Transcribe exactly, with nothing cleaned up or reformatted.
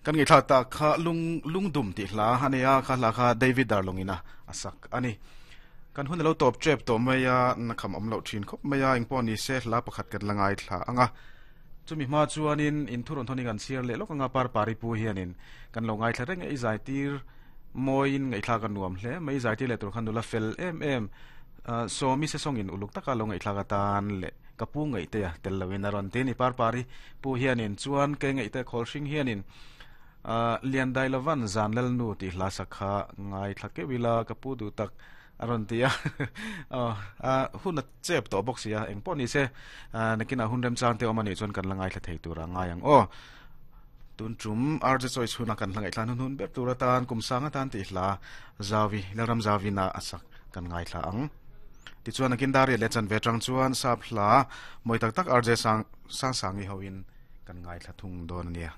Kan ngi thla ta kha lung lungdum ti hla ania kha hla kha David Darlongina asak ani. Kan hun lo top trep to maya na kham om lo thin khop maya ing pon ni se hla pakhat kat langai thla anga. Chumi ma chuanin in thuron thoni kan siar le lok anga par pari pu hianin kan lo ngai thla reng ei zai tir moin ngai thla kan nuam hle mai zai tir le tur khan nula fel em em so mi se song in uluk taka lo ngai thla ka tan le kapu ngai te tel lawin aron te ni par pari pu hianin chuan ke ngai te khol hring hianin lian dai lovan zan lel nu ti hla sakha ngai thla ke wila kapu du tak aron tia a hun a chep to box ya eng pawh ni se nakina hun rem chang te omani chuan kan langai thla thei tura ngai ang o tun tum arje choice huna kan langai thla hun hun ber tura tan kum sanga tan ti hla zawi laram zawi na asak kan ngai thla ang ti chuan akin dari le chan ve tang chuan sap hla moi tak tak arje sang sang sangi hoin kan ngai thla thung don ania.